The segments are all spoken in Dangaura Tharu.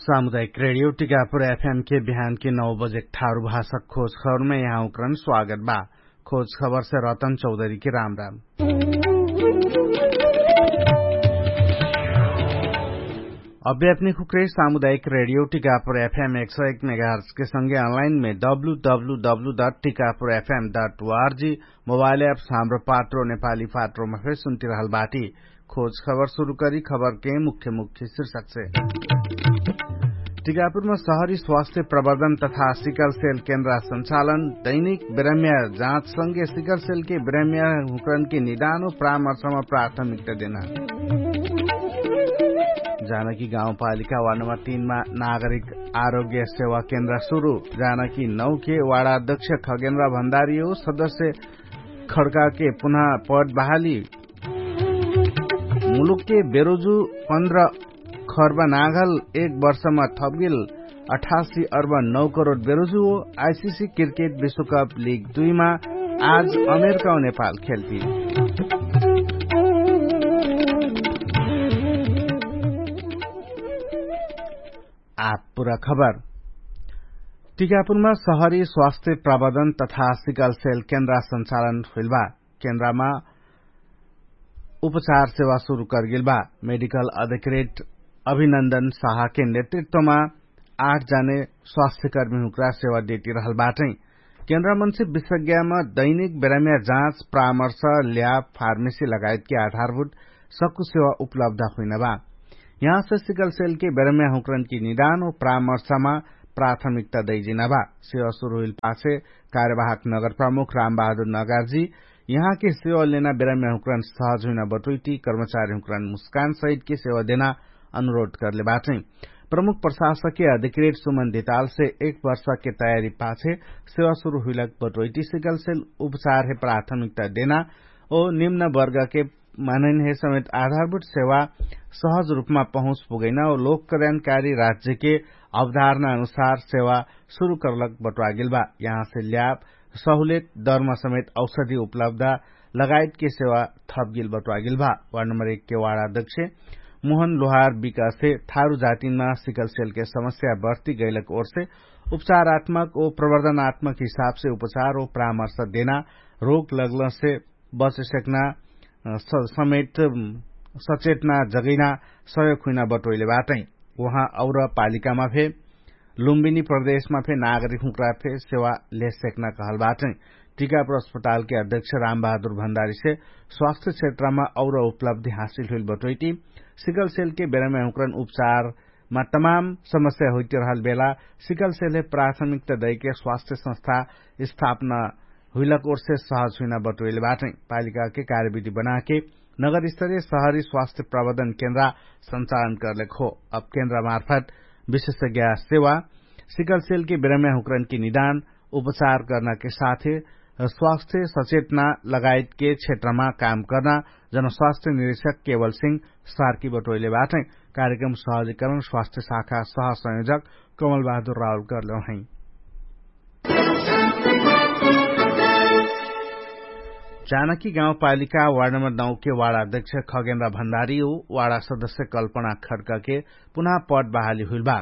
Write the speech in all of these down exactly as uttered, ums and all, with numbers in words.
सामुदायिक रेडियो टिकापुर एफएम के बिहान के नौ बजे ठारु भाषा खोज खबरमे यहाँ उक्रन स्वागत बा। खोज खबरसे रतन चौधरी के राम राम। अभ्यात्मिक उक्रे सामुदायिक रेडियो टिकापुर एफएम एक सौ एक मेगाहर्स के संगे अनलाइन मे W W W dot Tikapur FM dot ORG mobile app साम्रो पात्रो नेपाली पात्रोमा फेर सुन्तिरहल बाटी। खोज खबर सुरु करी खबर के मुख्य मुख्य शीर्षक से। टिकापुरमा सहरी स्वास्थ्य प्रवर्धन तथा सिकल सेल केन्द्र संचालन दैनिक बेरम्या जाँच संगे सिकल सेल के बेरम्या हुक्रन के निदान हो प्रामर्शमा प्राथमिकता देना। जानकी गाउँपालिका वार्ड नम्बर तीनमा नागरिक आरोग्य सेवा केन्द्र सुरु। जानकी नौ के वार्ड अध्यक्ष खगेन्द्र भण्डारी हो सदस्य खड्का के पुनः पद बहाली। मुलुक के बेरोजु पन्ध्र खर्ब नागल एक वर्षमा थपगेल अठासी अर्ब नौ करोड बेरोजु हो। आइसिसी क्रिकेट विश्वकप लिग दुईमा आज अमेरिका नेपाल खेल्ती। आपुरा खबर। टिकापुरमा सहरी स्वास्थ्य प्रबन्धन तथा सिकल सेल केन्द्र संचालन हुइल बा। केन्द्रमा उपचार सेवा सुरु करगेल बा। मेडिकल अधिकृत अभिनन्दन साहके नेतृत्वमा आठ जाने स्वास्थ्यकर्मी हुक्रा सेवा देती रहल बाटै। केन्द्रमन्से विशेषज्ञमा दैनिक बेराम्या जाँच परामर्श ल्याब फार्मेसी लगायतके आधारभूत सक्कु सेवा उपलब्ध हुइनबा। यहाँसे सिकल सेलके बेराम्या हुक्रनकी निदान व परामर्शमा प्राथमिकता दैजिनबा। सेवा सुरु हुइल पाछे कार्यवाहक नगर प्रमुख रामबहादुर नगरजी यहाँके सेवा लेना बेराम्या हुक्रन सहज हुइना बटोइटी कर्मचारी हुक्रन मुस्कान सहितके सेवा देना अनुरोध करले बाटै। प्रमुख प्रशासकके अधिकृत सुमन धितालसे एक वर्षके तयारी पाछे सेवा सुरु हुइलक बटोइटी सिकल सेल उपचारहे प्राथमिकता देना ओ निम्न वर्गके मानैनहे समेत आधारभूत सेवा सहज रूपमा पहुँच पुगैना ओ लोक कल्याणकारी राज्यके अवधारणा अनुसार सेवा सुरु करलक बटोइगेल बा। यहाँसे ल्याब सहुलेत दरमा समेत औषधी उपलब्ध लगायतके सेवा थपगेल बटोइगेल बा। वार्ड नम्बर एकके वार्ड अध्यक्ष मोहन लोहार विकाससे थारु जातिनमा सिकल सेलके समस्या बर्ती गैलक ओर्से उपचारात्मक ओ प्रवर्धनात्मक हिसाबसे उपचार ओ परामर्श देना रोग लगलसे बचेसक्ना समेत सचेतना जगैना सहयोग हुइना बटोइले बाटै। उहाँ और पालिकामा फे लुम्बिनी प्रदेशमा फे नागरिक हुँक्रा फे सेवा लेसेक्ना कहल बाटै। टिकापुर अस्पतालके अध्यक्ष रामबहादुर भण्डारीसे स्वास्थ्य क्षेत्रमा और उपलब्धि हासिल हुइल बटोइटी सिकल सेलके बेराम्या हुँक्रन उपचार मा तमाम समस्या हुइतिरहल बेला सिकल सेलहे प्राथमिकता दैके स्वास्थ्य संस्था स्थापना हुइलक ओर्से सहज हुइना बटोइले बाटै। पालिकाके कार्यविधि बनाके नगरस्तरीय सहरी स्वास्थ्य प्रबन्धन केन्द्रा संचालन करलेक हो। अब केन्द्रा मार्फत विशेषज्ञा सेवा सिकल सेलके बेराम्या हुक्रनकी निदान उपचार गर्नाके साथे स्वास्थ्य सचेतना लगायतके क्षेत्रमा काम कर्ना जनस्वास्थ्य निरीक्षक केवल सिंह सार्की बटोइले बाटै। कार्यक्रम सहजीकरण स्वास्थ्य शाखा सहसंयोजक कमल बहादुर रावल गर्लौ है। जानकी गाउँपालिका वार्ड नम्बर नौके वार्ड अध्यक्ष खगेन्द्र भण्डारी हो वार्ड सदस्य कल्पना खड्काके पुनः पद बहाली हुइल बा।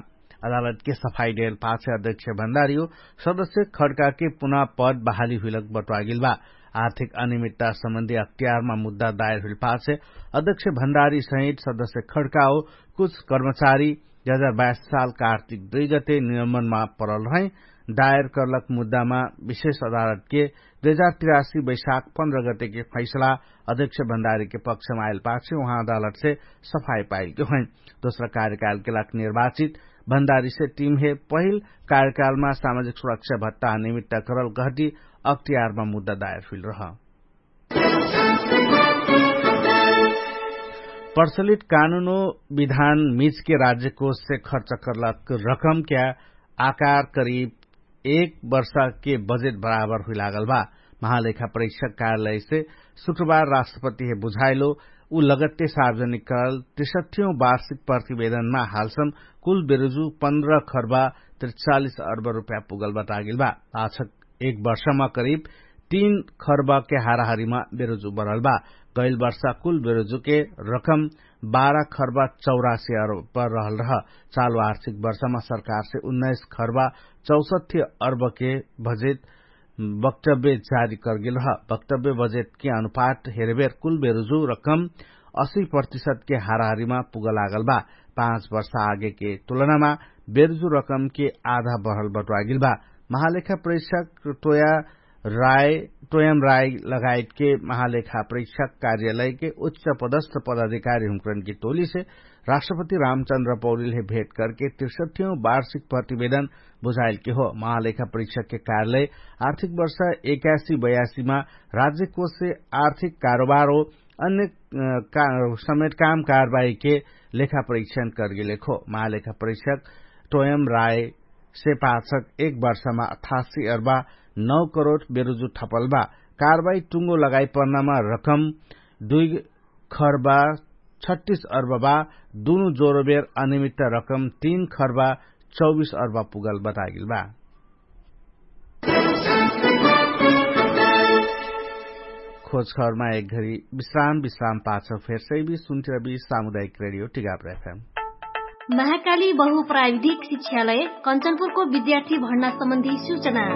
अदालतके सफाई देल पाछे अध्यक्ष भण्डारी हो सदस्य खड्काके पुनः पद बहाली हुइलक बटोइगेल बा। आर्थिक अनियमित्ता सम्बन्धी अख्तियारमा मुद्दा दायर हुइल पाछे अध्यक्ष भण्डारी सहित सदस्य खड्का हो कुछ कर्मचारी दुई हजार बाइस साल कार्तिक दुई गते निलम्बनमा परल रहै। दायर करलक मुद्दामा विशेष अदालतके दुई हजार तिरासी बैशाख पन्ध्र गतेके फैसला अध्यक्ष भण्डारीके पक्षमा आइल पाछे उहाँ अदालतसे सफाई पाइलके होइ। दोस्रा कार्यकालके लाग निर्वाचित भण्डारीसे टिमहे पहिल कार्यकालमा सामाजिक सुरक्षा भत्ता निमित्त करल गहटी अख्तियारमा मुद्दा दायर हुइल रह। प्रचलित कानुनो विधान मिजके राज्यकोषसे खर्च करलक रकमक्या आकार करिब एक वर्षके बजेट बराबर हुइलागल बा। महालेखा परीक्षक कार्यालयसे शुक्रबार राष्ट्रपतिहे बुझाइलो उ लगत्ते सार्वजनिक करल त्रिसठ्ठीयौं वार्षिक प्रतिवेदनमा हालसम कुल बेरुजु पन्ध्र खर्बा त्रिचालिस अर्ब रुप्या पुगल बतागेल बा। पाछक एक वर्षमा करिब तीन खर्बके हाराहारीमा बेरुजु बरल बा। कैल वर्षा कुल बेरुजुके रकम बाह्र खर्बा चौरासी अर्ब रहल रह। चालु आर्थिक वर्षामा सरकारसे उन्नाइस खर्बा चौसठी अर्बके बजेट वक्तव्य जारी करगेल रह। वक्तव्य बजेटके अनुपाट हेरबेर कुल बेरुजु रकम असी प्रतिशतके हाराहारीमा पुगलागल बा। पाँच वर्ष आगेके तुलनामा बेरुजु रकमके आधा बढल बटुवागेल बा। महालेखा प्रेक्षक टोया राय टोयम राय लगायतके महालेखा प्रेक्षक कार्यालयके उच्च पदस्थ पदाधिकारी हुँकरनके टोलीसे राष्ट्रपति रामचन्द्र पौलीलहे भेट करके त्रिसठ्यौं वार्षिक प्रतिवेदन बुझाइलके हो। महालेखा प्रेक्षकके कार्यालय आर्थिक वर्ष एकासी बयासीमा राज्यकोषसे आर्थिक कारोबार हो अन्य समेट काम कारवाहीके लेखा परीक्षण करगेलेखो। महालेखा परीक्षक टोयम राय से पाछक एक वर्षमा अठासी अर्बा नौ करोड बेरुजु ठपल बा। कारवाही टुङ्गो लगाइ पर्नामा रकम दुई खर्बा छट्टिस अर्बा बा। दुनु जोरोबेर अनिमित्त रकम तीन खर्बा चौबिस अर्बा पुगल बतागेल बा। खोजखबरमा एक घरी विश्राम विश्राम पाछ फेर्सै बि सुन्थिर बि सामुदायिक रेडियो टिगाप्र एफएम। महाकाली बहुप्राविधिक शिक्षालय कञ्चनपुरको विद्यार्थी भर्ना सम्बन्धी सूचना।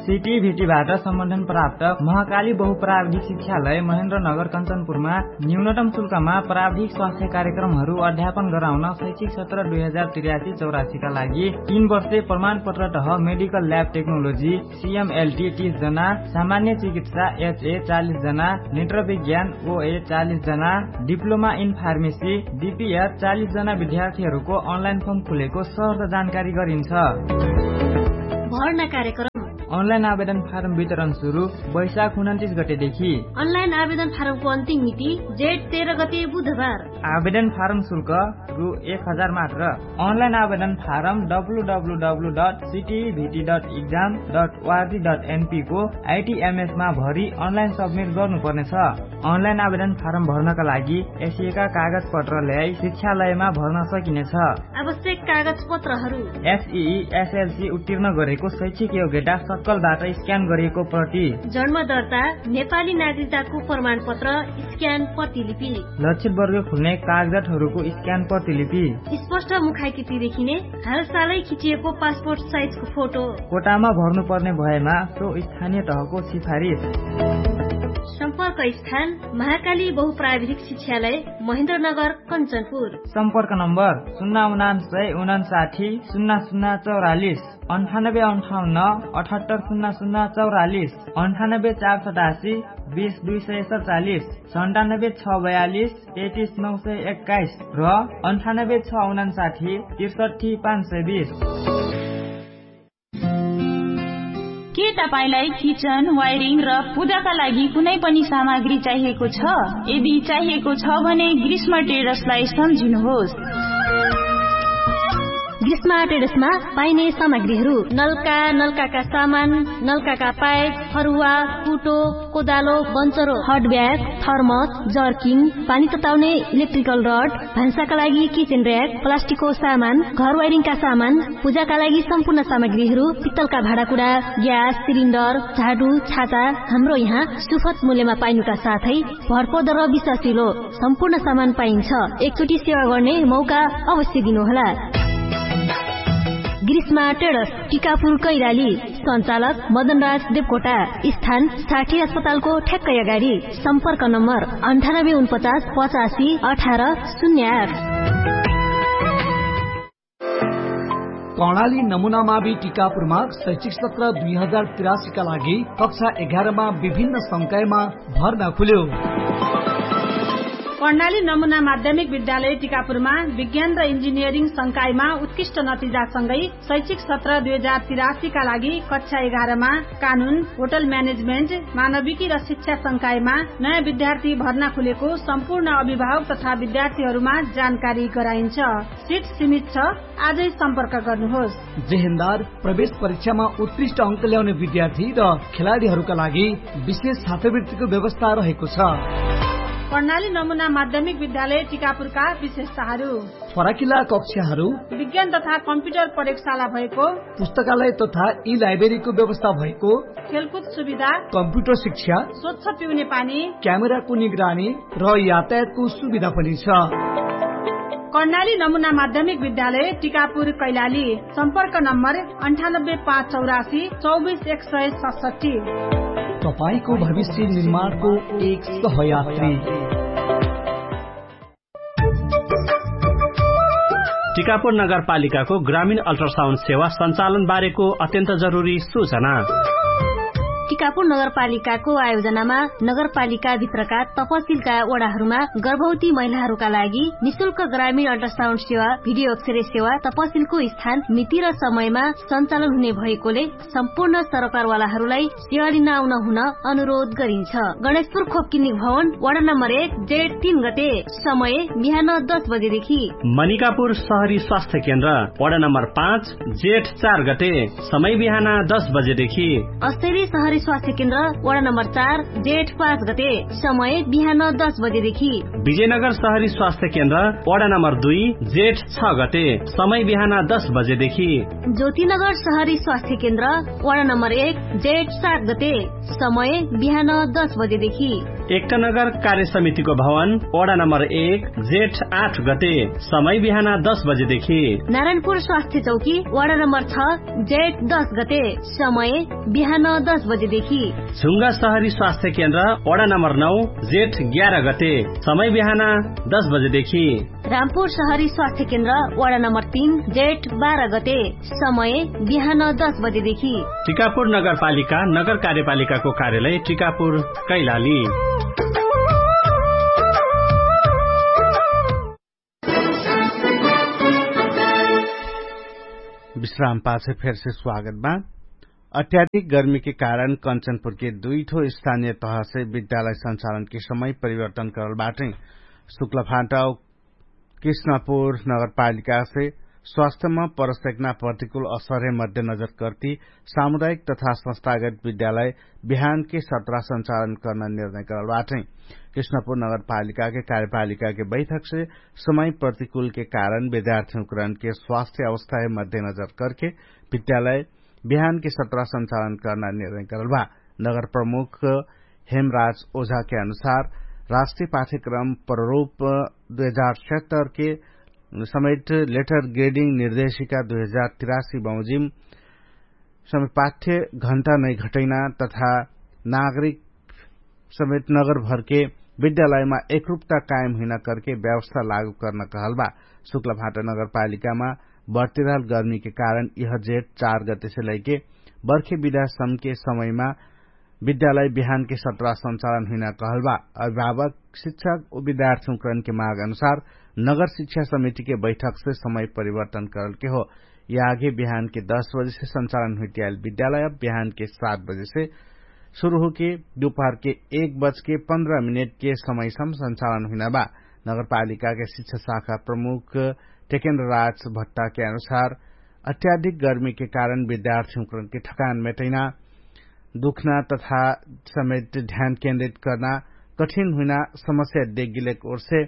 सिटी भिटीबाट सम्बन्धन प्राप्त महाकाली बहुप्राविधिक शिक्षालय महेन्द्र नगर कञ्चनपुरमा न्यूनतम शुल्कमा प्राविधिक स्वास्थ्य कार्यक्रमहरू अध्यापन गराउन शैक्षिक सत्र दुई हजार त्रियासी चौरासीका लागि तीन वर्षे प्रमाणपत्र तह मेडिकल ल्याब टेक्नोलोजी सिएमएलटी तीस जना, सामान्य चिकित्सा एचए चालिस जना, नेत्र विज्ञान ओए चालिस जना, डिप्लोमा इन फार्मेसी डिपिएच चालिस जना विद्यार्थीहरूको अनलाइन फर्म खुलेको सहर्थ जानकारी गरिन्छ। भर्ना कार्यक्रम। अनलाइन आवेदन फारम वितरण सुरु वैशाख उनन्तिस गतेदेखि। अनलाइन आवेदन फारमको अन्तिम मिति जेठ तेह्र गते बुधबार। आवेदन फारम शुल्क रु एक हजार मात्र। अनलाइन आवेदन form W W W dot CTEVT dot exam dot ORG dot एनपीको आइटिएमएसमा भरि अनलाइन सब्मिट गर्नुपर्नेछ। अनलाइन आवेदन फारम भर्नका लागि एसिएका कागजपत्र ल्याई शिक्षालयमा भर्न सकिनेछ। आवश्यक कागजपत्रहरू। एसई एसएलसी उत्तीर्ण गरेको शैक्षिक योग्यता सक्कलबाट स्क्यान गरिएको प्रति। जन्म दर्ता, नेपाली नागरिकताको प्रमाणपत्र, स्क्यान प्रतिलिपि। लक्षित वर्ग खुल्ने कागजातहरूको स्क्यान प्रतिलिपि। स्पष्ट मुखाइकिति देखिने हालसालै खिचिएको पासपोर्ट साइजको फोटो। कोटामा भर्नुपर्ने भएमा सो स्थानीय तहको सिफारिस। सम्पर्क स्थान महाकाली बहुप्राविधिक शिक्षालय महेन्द्रनगर कञ्चनपुर। सम्पर्क नम्बर सुन्ना उनान्सय उनान्साठी सुन्ना सुन्ना चौरालिस। अन्ठानब्बे अन्ठाउन्न अठहत्तर सुन्ना सुन्ना चौरालिस। अन्ठानब्बे चार सतासी बिस दुई सय सडचालिस। सन्तानब्बे छ बयालिस तेतिस नौ सय एक्काइस र अन्ठानब्बे छ उनान्साठी त्रिसठी पाँच सय बिस। के तपाईंलाई किचन वायरिङ र पूजाका लागि कुनै पनि सामग्री चाहिएको छ? यदि चाहिएको छ भने ग्रीष्म टेडर्सलाई सम्झिनुहोस्। ग्रीष्म टेडर्समा पाइने सामग्रीहरू नल्का नल्काका सामान, नल्काका पाइप, फरुवा, कुटो, कोदालो, बन्चरो, हटब्याग, थर्मस, जर्किङ, पानी तताउने इलेक्ट्रिकल रड, भान्साका लागि किचेन र्याक, प्लास्टिकको सामान, घर वाइरिङका सामान, पूजाका लागि सम्पूर्ण सामग्रीहरू, पित्तलका भाँडाकुडा, ग्यास सिलिन्डर, झाडु, छाता, हाम्रो यहाँ सुफत मूल्यमा पाइनुका साथै भरपर्दो र विश्वासिलो सम्पूर्ण सामान पाइन्छ। एकचोटि सेवा गर्ने मौका अवश्य दिनुहोला। ग्रीष्मा टेडस, टिकापुर कैराली। सञ्चालक मदनराज देवकोटा। स्थान साठी अस्पतालको ठ्याक्कै अगाडि। सम्पर्क नम्बर अन्ठानब्बे उनपचास पचासी अठार शून्य आठ। कर्णाली नमुना मावि टिकापुरमा शैक्षिक सत्र दुई हजार तिरासीका लागि कक्षा एघारमा विभिन्न संकायमा भर्ना खुल्यो। कर्णाली नमुना माध्यमिक विद्यालय टिकापुरमा विज्ञान र इन्जिनियरिङ संकायमा उत्कृष्ट नतिजासँगै शैक्षिक सत्र दुई हजार तिरासीका लागि कक्षा एघारमा कानुन, होटल म्यानेजमेन्ट, मानविकी र शिक्षा संकायमा नयाँ विद्यार्थी भर्ना खुलेको सम्पूर्ण अभिभावक तथा विद्यार्थीहरूमा जानकारी गराइन्छ। सिट सीमित छ। आजै सम्पर्क गर्नुहोस्। जेहेन्दार प्रवेश परीक्षामा उत्कृष्ट अङ्क ल्याउने विद्यार्थी र खेलाडीहरूका लागि विशेष छात्रवृत्तिको व्यवस्था रहेको छ। कर्णाली नमुना माध्यमिक विद्यालय टिकापुरका विशेषताहरू। फराकिला कक्षाहरू। विज्ञान तथा कम्प्युटर प्रयोगशाला भएको। पुस्तकालय तथा ई लाइब्रेरीको व्यवस्था भएको। खेलकुद सुविधा। कम्प्युटर शिक्षा। स्वच्छ पिउने पानी। क्यामेराको निगरानी र यातायातको सुविधा पनि छ। कर्णाली नमुना माध्यमिक विद्यालय टिकापुर कैलाली। सम्पर्क नम्बर अन्ठानब्बे पाँच चौरासी चौबिस एक सय सतसट्ठी। तपाईंको भविष्य निर्माणको एक सहयात्री। टिकापुर नगरपालिकाको ग्रामीण अल्ट्रासाउन्ड सेवा सञ्चालन बारेको अत्यन्त जरुरी सूचना। टिकापुर नगरपालिकाको आयोजनामा नगरपालिकाभित्रका तपसिलका वडाहरूमा गर्भवती महिलाहरूका लागि निशुल्क ग्रामीण अल्ट्रासाउन्ड सेवा, भिडियो अक्षरे सेवा तपसिलको स्थान मिति र समयमा सञ्चालन हुने भएकोले सम्पूर्ण सरकारवालाहरूलाई सेवा लिन आउन हुन अनुरोध गरिन्छ। गणेशपुर खोपकिनी भवन, वडा नम्बर एक, जेठ तीन गते, समय बिहान दस बजेदेखि। मनिकापुर सहरी स्वास्थ्य केन्द्र, वडा नम्बर पाँच, जेठ चार गते, समय बिहान दस बजेदेखि। अस्तरी सहरी स्वास्थ्य केन्द्र, वडा नम्बर चार, जेठ पाँच गते, समय बिहान दस बजेदेखि। विजयनगर सहरी स्वास्थ्य केन्द्र, वडा नम्बर दुई, जेठ छ गते, समय बिहान दस बजेदेखि। ज्योतिनगर सहरी स्वास्थ्य केन्द्र, वडा नम्बर एक, जेठ सात गते, समय बिहान दस बजेदेखि। एकनगर कार्य समितिको भवन, वडा नम्बर एक, जेठ आठ गते, समय बिहान दस बजेदेखि। नारायणपुर स्वास्थ्य चौकी, वडा नम्बर छ, जेठ दस गते, समय बिहान दस बजेदेखि। झुङ्गा सहरी स्वास्थ्य केन्द्र, वडा नम्बर नौ, जेठ ग्यार गते, समय बिहान दस बजेदेखि। रामपुर सहरी स्वास्थ्य केन्द्र, वडा नम्बर तीन, जेठ बाह्र गते, समय बिहान दस बजेदेखि। टिकापुर नगरपालिका, नगर कार्यपालिकाको कार्यालय टिकापुर, कैलाली। विश्राम पाछे फेरसे स्वागत बा। अत्याधिक गर्मीके कारण कञ्चनपुरके दुईठो स्थानीय तहसे विद्यालय सञ्चालनके समय परिवर्तन करल बाटै। शुक्लफाटा कृष्णपुर नगरपालिकासे स्वास्थ्यमा परसेक्ना प्रतिकूल असरहे मध्यनजर कर्ति सामुदायिक तथा संस्थागत विद्यालय बिहानके सत्रा सञ्चालन कर्ना निर्णय करल बाटै। कृष्णपुर नगरपालिकाके कार्यपालिकाके बैठकसे समय प्रतिकूलके कारण विद्यार्थीहुँकरणके स्वास्थ्य अवस्थाहे मध्यनजर करके विद्यालय बिहानके सत्रा सञ्चालन कर्ना निर्णय करल बा। नगर प्रमुख हेमराज ओझाके अनुसार राष्ट्रिय पाठ्यक्रम प्ररूप दुई हजार सत्तरके समेट लेटर ग्रेडिङ निर्देशिका दुई हजार तिरासी बमोजिम समेट पाठ्य घण्टा नै घटैना तथा नागरिक समेत नगरभरके विद्यालयमा एकरुपता कायम हुइना करके व्यवस्था लागू कर्ना कहल बा। शुक्लभाटा नगरपालिकामा बर्तिरहल गर्मीके कारण यह जेठ चार गतेसे लैके बर्खे विद्यासमके समयमा विद्यालय बिहानके सत्रा सञ्चालन हुइना कहल बा। अभिभावक शिक्षक उ विद्यार्थीहुँकरणके माग अनुसार नगर शिक्षा समितिके बैठकसे समय परिवर्तन करलके हो। यागे बिहानके दस बजेसे सञ्चालन हुइटियाल विद्यालय बिहानके सात बजेसे सुरु होके दुपहरके एक बजके पन्ध्र मिनेटके समयसम सञ्चालन हुइना बा। नगरपालिकाके शिक्षा शाखा प्रमुख टेकेन्द्र राज भट्टाके अनुसार अत्याधिक गर्मीके कारण विद्यार्थीहुँकरणके ठकान मेटैना दुख्ना तथा समेत ध्यान केन्द्रित कर्ना कठिन हुइना समस्या देगिलेक ओर्से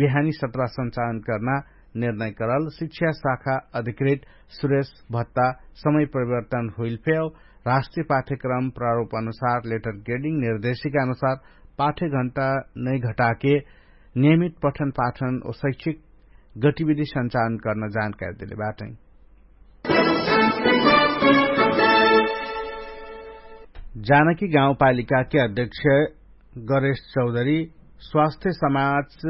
बिहानी सत्रा सञ्चालन कर्ना निर्णय करल शिक्षा शाखा अधिकृत सुरेश भत्ता समय परिवर्तन हुइल फेव राष्ट्रिय पाठ्यक्रम प्रारूप अनुसार लेटर ग्रेडिङ निर्देशिका अनुसार पाठ्य घण्टा नै घटाके नियमित पठन पाठन ओ शैक्षिक गतिविधि सञ्चालन कर्न जानकारी देले बाटै। जानकी गाउँपालिकाके अध्यक्ष गरेश चौधरी स्वास्थ्य समाज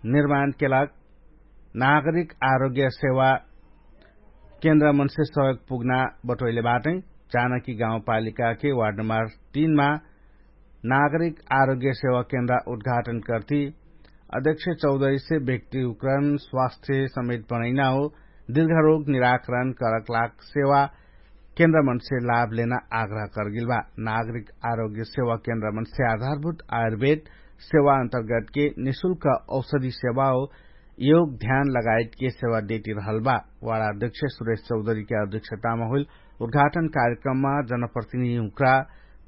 निर्माणके लाग नागरिक आरोग्य सेवा केन्द्रमनसे सहयोग पुग्ना बटोइले बाटै। जानकी गाउँपालिकाके वार्ड नम्बर तीनमा नागरिक आरोग्य सेवा केन्द्र उद्घाटन कर्ति अध्यक्ष चौधरीसे व्यक्ति उकरण स्वास्थ्य समेत बनैना हो दिर्घरोग निराकरण करक लाग सेवा केन्द्रमनसे लाभ लेना आग्रह करगिल बा। नागरिक आरोग्य सेवा केन्द्रमनसे आधारभूत आयुर्वेद सेवा अन्तर्गतके निशुल्क औषधि सेवा हो योग ध्यान लगायतके सेवा देति रहल बा। वाडा अध्यक्ष सुरेश चौधरीके अध्यक्षतामा होइल उद्घाटन कार्यक्रममा जनप्रतिनिधि हुँक्रा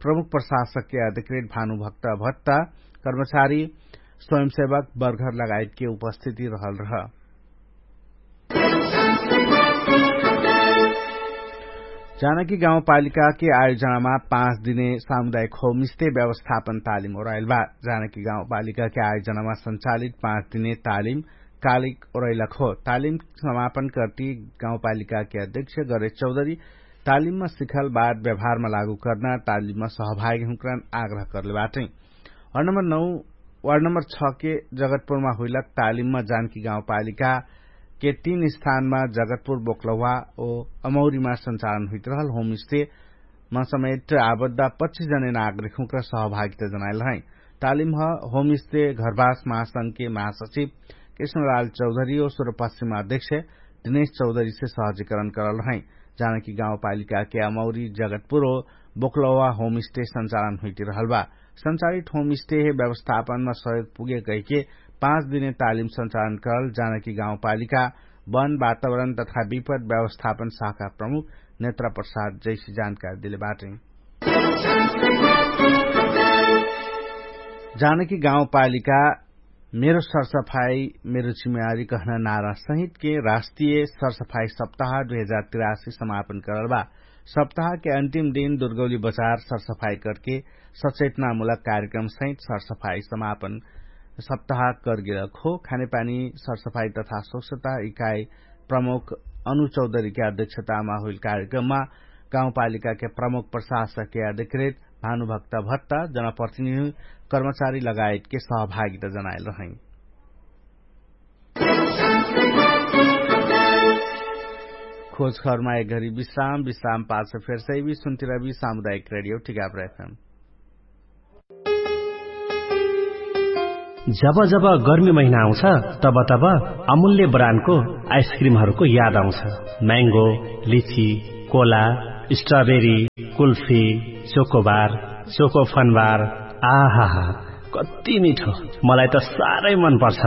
प्रमुख प्रशासकके अधिकृत भानुभक्त भत्ता कर्मचारी, स्वयंसेवक, बर्घर लगायतके उपस्थिति रहल रह। जानकी गाउँपालिकाके आयोजनामा पाँच दिने सामुदायिक होमस्टे व्यवस्थापन तालिम ओराइल बा। जानकी गाउँपालिकाके आयोजनामा सञ्चालित पाँच दिने तालिम कालिक ओराइलक हो। तालिम समापन कर्ति गाउँपालिकाके अध्यक्ष गणेश चौधरी तालिममा सिखल बात व्यवहारमा लागू कर्ना तालिममा सहभागी हुँक्रान आग्रह कर्ले बाटै। वार्ड नम्बर नौ, वार्ड नम्बर छ के जगतपुरमा हुइलक तालिममा जानकी गाउँपालिकाके तीन स्थानमा जगतपुर बोक्लवा ओ अमौरीमा सञ्चालन हुइतरहल होमस्टेमा समेट आबद्धा पच्चिस जने नागरिक हुँक्रा सहभागिता जनाइल रहै। तालिमह होमस्टे घरबास महासंघके महासचिव कृष्णलाल चौधरी ओ सुरपश्चिमा अध्यक्ष दिनेश चौधरीसे सहजीकरण करल रहै। जानकी गाउँपालिकाके अमौरी जगतपुर ओ बोक्लवा होमस्टे सञ्चालन हुइतिरहल बा। सञ्चालित होमस्टे हे व्यवस्थापनमा सहयोग पुगे कहिके पाँच दिने तालिम सञ्चालन करल जानकी गाउँपालिका वन वातावरण तथा विपद व्यवस्थापन शाखा प्रमुख नेत्रा प्रसाद जैसी जानकारी देले बाटै। जानकी गाउँपालिका मेरो सरसफाई मेरो जिम्मेवारी कहना नारा सहितके राष्ट्रिय सरसफाई सप्ताह दुई हजार तिरासी समापन करल बा। सप्ताहके अन्तिम दिन दुर्गौली बजार सरसफाई करके सचेतनामूलक कार्यक्रम सहित सरसफाई समापन सप्ताह करगेलक हो। खानेपानी सरसफाई तथा स्वच्छता इकाई प्रमुख अनु चौधरीके अध्यक्षतामा हुइल कार्यक्रममा गाउँपालिकाके प्रमुख प्रशासकके अधिकृत भानुभक्त भत्ता जनप्रतिनिधि कर्मचारी लगायतके सहभागिता जनाइल रहै। खोजखरमा एक घरी विश्राम विश्राम पाछ फेर्सैबी सुन्तिरबी सामुदायिक रेडियो टिकाप्र एफएम। जब जब गर्मी महिना आउँछ तब तब अमूल्य ब्रान्डको आइसक्रिमहरूको याद आउँछ। म्याङ्गो, लिची, Cola, strawberry, kulfi, chocobar, choco Fun Bar. आहाहा, कति मिठो। मलाई त साह्रै मन पर्छ।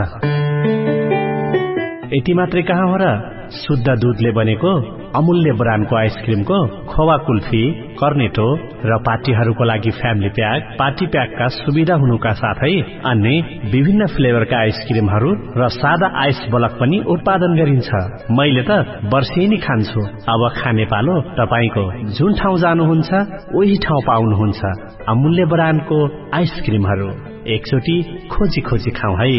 यति मात्रै कहाँ हो र? शुद्ध दुधले बनेको अमूल्य ब्रान्डको आइसक्रिमको खोवा कुल्फी, कर्नेटो र पार्टीहरूको लागि फ्यामिली प्याक पार्टी प्याकका सुविधा हुनुका साथै अन्य विभिन्न फ्लेभरका आइसक्रिमहरू र सादा आइस बलक पनि उत्पादन गरिन्छ। मैले त वर्षेनी खान्छु। अब खाने पालो तपाईंको। जुन ठाउँ जानुहुन्छ उही ठाउँ पाउनुहुन्छ अमूल्य ब्रान्डको आइसक्रिमहरू। एकचोटि खोजी खोजी खाउँ है।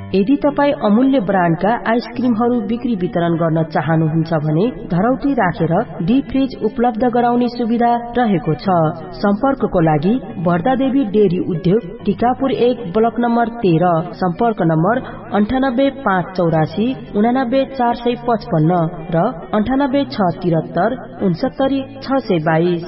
यदि तपाईं अमूल्य ब्रान्डका आइसक्रिमहरू बिक्री वितरण गर्न चाहनुहुन्छ भने धरौटी राखेर डिप फ्रिज उपलब्ध गराउने सुविधा रहेको छ। सम्पर्कको लागि भर्दादेवी डेरी उद्योग टिकापुर एक ब्लक नम्बर तेह्र। सम्पर्क नम्बर अन्ठानब्बे पाँच चौरासी उनानब्बे चार सय पचपन्न र अन्ठानब्बे छ तिरत्तर उनसत्तरी छ सय बाइस।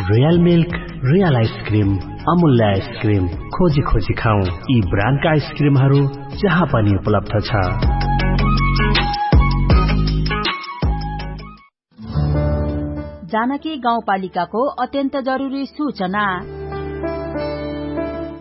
रियल मिल्क, रियल आइसक्रिम, अमूल्य आइसक्रिम। खोजी खोजी खाउँ यी ब्रान्डका आइसक्रिमहरू जहाँ पनि उपलब्ध छ। जानकी गाउँपालिकाको अत्यन्त जरुरी सूचना।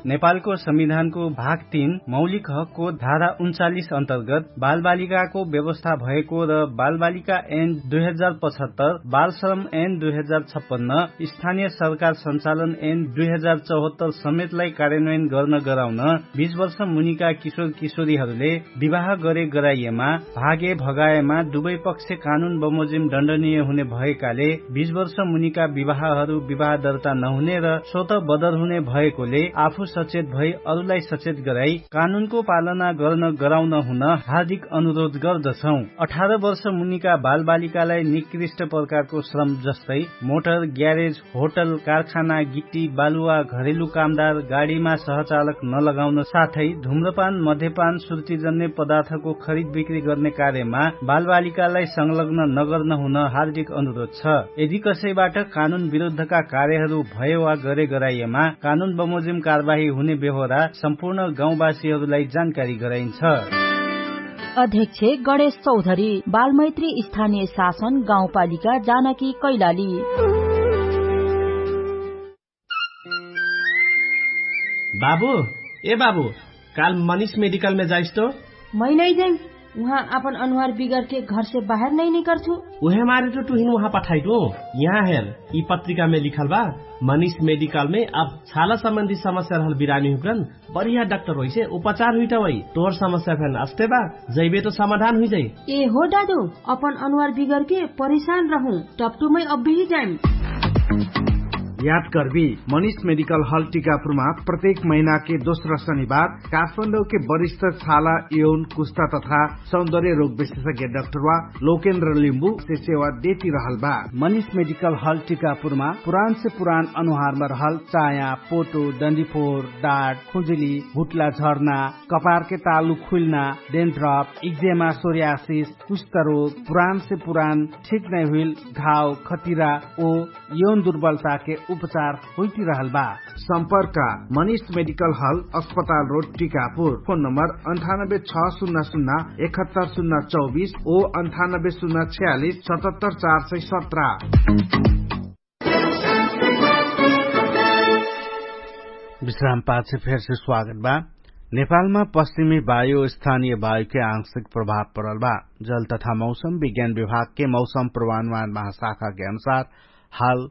नेपालको संविधानको भाग तीन मौलिक हकको धारा उन्चालिस अन्तर्गत बालबालिकाको व्यवस्था भएको र बालबालिका ऐन दुई हजार पचहत्तर, बालश्रम ऐन दुई हजार छप्पन्न, स्थानीय सरकार सञ्चालन ऐन दुई हजार चौहत्तर समेतलाई कार्यान्वयन गर्न गराउन बीस वर्ष मुनिका किशोर किशोरीहरूले विवाह गरे गराइएमा, भागे भगाएमा दुवै पक्ष कानुन बमोजिम दण्डनीय हुने भएकाले बीस वर्ष मुनिका विवाहहरू विवाह दर्ता नहुने र स्वत बदर हुने भएकोले आफू सचेत भई अरूलाई सचेत गराई कानुनको पालना गर्न गराउन हुन हार्दिक अनुरोध गर्दछौं। अठार वर्ष मुनिका बालबालिकालाई निकृष्ट प्रकारको श्रम जस्तै मोटर, ग्यारेज, होटल, कारखाना, गिट्टी, बालुवा, घरेलु कामदार, गाडीमा सहचालक नलगाउन साथै धुम्रपान, मध्यपान, सुर्तीजन्य पदार्थको खरिद बिक्री गर्ने कार्यमा बालबालिकालाई संलग्न नगर्न हुन हार्दिक अनुरोध छ। यदि कसैबाट कानुन विरुद्धका कार्यहरू भए वा गरे गराइएमा कानुन बमोजिम कारवाही हुने बेहोरा सम्पूर्ण गाउँवासीहरूलाई जानकारी गराइन्छ। अध्यक्ष गणेश चौधरी, बालमैत्री स्थानीय शासन गाउँपालिका जानकी कैलाली। बाबु, ए बाबु, काल मनिष मेडिकलमे जाइस्तो? मै नै जाइम। उहाँ अपन अनुहार बिगरके घरसे बाहेर नै निकर्छु। उहे मारे टु टुहिन उहाँ पठाइटु। यहाँ हेर, यि पत्रिकामे लिखल बा, मनिष मेडिकलमे अब छाला सम्बन्धी समस्या रहल बिरामी हुक्रन बढिया डाक्टर होइसे उपचार हुइटा वै। तोर समस्या फेन अस्ते बा, जैबे त समाधान हुइजाइ। ए हो दादु, अपन अनुहार बिगरके परिशान रहु, टप्टुमै अब्बिही जाइम। याद कर्बी, मनिष मेडिकल हल टिकापुरमा प्रत्येक महिनाके दोस्रा शनिबार काठमाडौके बरिष्ठ छाला, यौन, कुस्ता तथा सौन्दर्य रोग विशेषज्ञ डाक्टर वा लोकेन्द्र लिम्बु से सेवा देती रहल बा। मनिष मेडिकल हल टिकापुरमा पुरान से पुरान अनुहारमा रहल चाया, पोटो, डन्डीफोर, डाट, खुजुली, हुट्ला झर्ना, कपारके तालु खुइल्ना, डेन्ट्रप, इक्जेमा, सोरियासिस, कुष्ठरोग, पुरान से पुरान ठीक नै हुइल घाव, खतिरा ओ यौन दुर्बलताके उपचार होइती रहल बा। सम्पर्क, मनिष मेडिकल हल, अस्पताल रोड, टिकापुर। फोन नम्बर अन्ठानब्बे छ सुन्ना सुन्ना एकहत्तर सुन्ना चौबिस ओ अन्ठानब्बे सुन्ना छयालिस सतहत्तर चार सय सत्र। विश्राम पाछे फेरसे स्वागत बा। नेपालमा पश्चिमी वायु स्थानीय वायुके आंशिक प्रभाव परल बा। जल तथा मौसम विज्ञान विभागके मौसम पूर्वानुमान महाशाखाके अनुसार हाल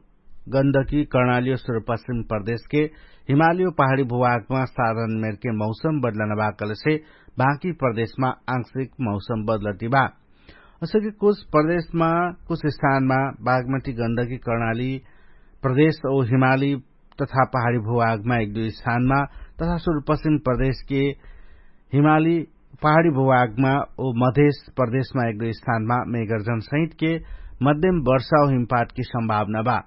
गन्दकी कर्णाली ओ सुरुपश्चिम प्रदेशके हिमाली ओ पहाडी भूभागमा साधारण मेरके मौसम बदलना बा कहलेसे बाँकी प्रदेशमा आंशिक मौसम बदलती बा। असके कुछ प्रदेशमा कुछ स्थानमा बागमती गन्दकी कर्णाली प्रदेश ओ हिमाली तथा पहाडी भूभागमा एक दुई स्थानमा तथा सुरुपश्चिम प्रदेशके हिमाली पहाडी भूभागमा ओ मधेश प्रदेशमा एक दुई स्थानमा मेगर्जन सहितके मध्यम वर्षा ओ हिमपातकी सम्भावना बा।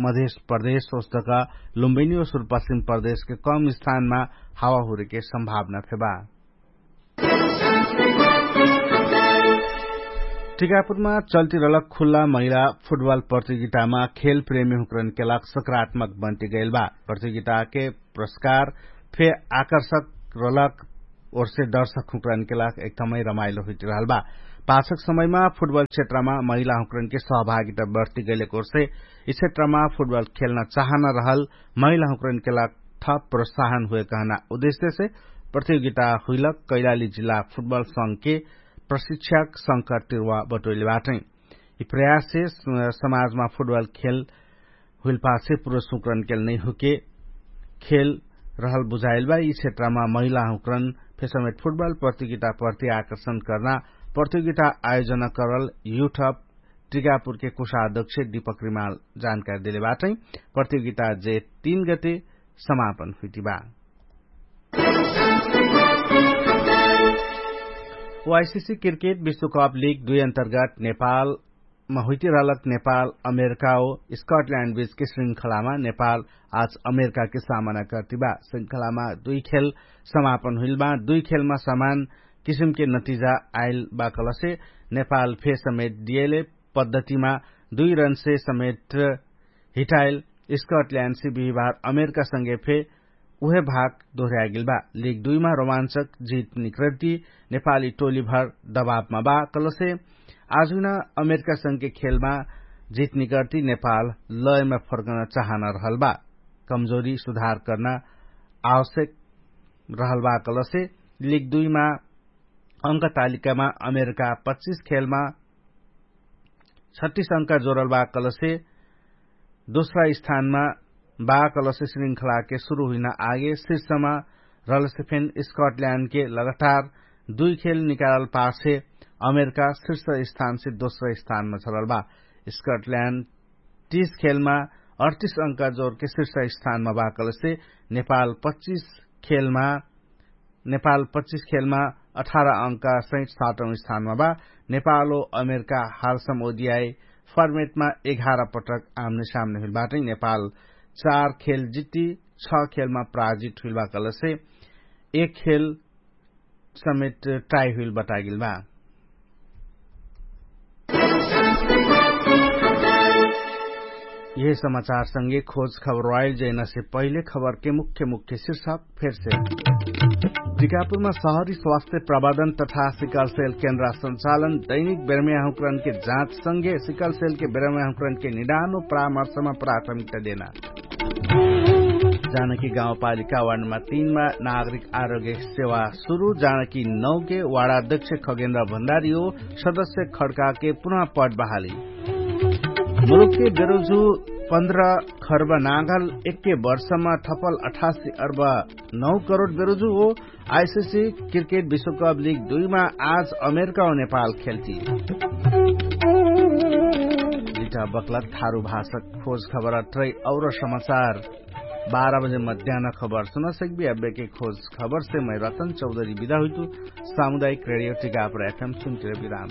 मधेश प्रदेश ओस्तका लुम्बिनी ओ सुरुपश्चिम प्रदेशके कम स्थानमा हावा हुरेके सम्भावना फेबा। टिकापुरमा चल्ती रहलक खुल्ला महिला फुटबल प्रतियोगितामा खेल प्रेमी हुक्रनके लाग सकारात्मक बन्टी गैल बा। प्रतियोगिताके पुरस्कार फे आकर्षक रहलक ओर्से दर्शक हुक्रनके लाग एकदमै रमाइलो हुइट रहल बा। पाछक समयमा फुटबल क्षेत्रमा महिला हुक्रनके सहभागिता बढ्ती गैलेक ओर्से यि क्षेत्रमा फुटबल खेल्न चाहना रहल महिला हुक्रनके लाग थप प्रोत्साहन हुए कहना उद्देश्यसे प्रतियोगिता हुइलक कैलाली जिल्ला फुटबल संघके प्रशिक्षक शंकर तिर्वा बटोइले बाटै। यि प्रयाससे समाजमा फुटबल खेल हुइलपाछे पुरुष हुक्रनके नै हुके खेल रहल बुझाइल बा। यि क्षेत्रमा महिला हुक्रन फेसमेट फुटबल प्रतियोगिता प्रति आकर्षण कर्ना प्रतियोगिता आयोजना करल युठप टिकापुरके कुशाध्यक्ष दीपक रिमाल जानकारी देले बाटै। प्रतियोगिता जे तीन गते समापन हुइटी बा। वाइसिसी क्रिकेट विश्वकप लिग दुई अन्तर्गत नेपालमा हुइटी रहलक नेपाल अमेरिका ओ स्कटल्याण्ड बीचके श्रृङ्खलामा नेपाल आज अमेरिकाके सामना कर्तिबा। श्रृङ्खलामा दुई खेल समापन हुइलबा। दुई खेलमा समान किसिमके नतिजा आइल बा कहलसे नेपाल फे समेट दिएले पद्धतिमा दुई रनसे समेट हिटाइल स्कटल्याण्डसे बिहिबार अमेरिकासँगे फे उहे भाग दोहर्यागेल बा। लिग दुईमा रोमान्चक जित निकर्ति नेपाली टोलीभर दबाबमा बा कहलसे आजुना अमेरिकासँगे खेलमा जित निकर्ति नेपाल लयमा फर्कन चाहना रहल बा। कमजोरी सुधार कर्ना आवश्यक रहल बा कहलसे लिग दुईमा अङ्क तालिकामा अमेरिका पच्चिस खेलमा छत्तिस अङ्क जोरल बा कहलसे दोस्रा स्थानमा बा कहलसे श्रृङ्खलाके सुरु हुइना आगे शीर्षमा रहलसे फेन स्कटल्याण्डके लगातार दुई खेल निकालल पाछे अमेरिका शीर्ष स्थानसे दोस्रा स्थानमा छरल बा। स्कटल्याण्ड तीस खेलमा अडतीस अङ्क जोरके शीर्ष स्थानमा बा कहलसे नेपाल पच्चिस खेलमा नेपाल पच्चिस खेलमा अठार अङ्का सहित सातौं स्थानमा बा। नेपाल ओ अमेरिका हालसम ओदियाई फर्मेटमा एघार पटक आमने सामने हुइल बाटै। नेपाल चार खेल जित्ती छ खेलमा पराजित हुइल बा कहलसे एक खेल समेत टाई हुइल बतागेल बा। यह समाचार संगे खोज खबर वाइल जैना से पहिले खबर के मुख्य मुख्य शीर्षक फेर से। टिकापुरमा सहरी स्वास्थ्य प्रबन्धन तथा सिकल सेल केन्द्र संचालन दैनिक बेरमया हुक्रन के जाँच संगे सिकल सेल के बेरमया हुक्रन के निदान व परामर्शमा प्राथमिकता देना। जानकी गाउँपालिका वार्डमा तीनमा नागरिक आरोग्य सेवा सुरु। जानकी नौके वार्डाध्यक्ष खगेन्द्र भण्डारी हो सदस्य खड्काके पुनः पट बहाली। मुरुक्के बेरुजु पन्ध्र खर्ब नागल एक्के वर्षमा थपल अठासी अर्ब नौ करोड बेरुजु हो। आइसिसी क्रिकेट विश्वकप लिग दुईमा आज अमेरिका हो नेपाल खेल्टी। लिटा बक्लत थारु भाषक खोज खबर अट्रै और समाचार बाह्र बजे मध्यान खबर सुनसक्बी अब्बेके खोज खबरसे मै रतन चौधरी बिदा हुइतु। सामुदायिक रेडियो टिकापर एफएम सुन्टिर बिराम।